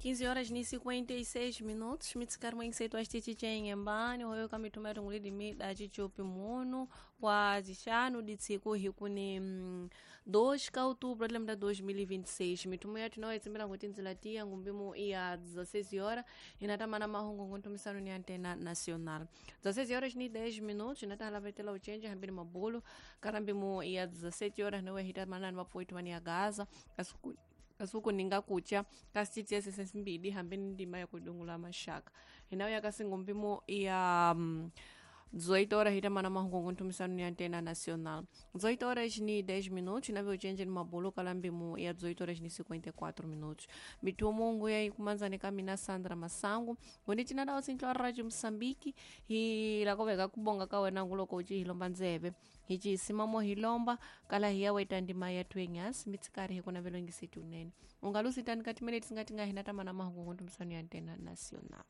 15 horas ni 56 minutos mitsikari mwengisetu acitici hoyo kamithuma tungulidi mida cicupi munu wa zixanu ditsiku hikuni 2 ka outubro de 2026. Mithumo yathu nayo itsimbela kuti ndzila tiya ngumbimu iya 16 horas inatamana mahungu nguntumisano ni antena nacional. 16 horas ni 10 minutos inatahalavetela uchenje hambini mabulu karambimu iya 17 horas nowe hitamana ni vapuitu vani ya gaza kasuku kasuku ninga kucha kasititiese sesimbidi hambeni ndima ya kudungula mashaka inayo yakasingumbimo ya 18 horas hitamana mahungu ntumisano ni antena nacional. 18 horas ni 10 minutos nave uchenje ni mabulu kalambimu ya 18 horas ni 54 minutos. Mitumungu ya ikumanzani kamina Sandra Masangu ngondi tinadawo sintlo radio Mosambiki hilakoveka kubonga kawena nguloko uci hilomba nzeve hici simamo hilomba kala hiyaweta ndima yathu enyasi mitsikari hikuna velongiseti unene ungalusitani katimene tisingatinga hinatamana mahungu ntumisano ya antena nacional.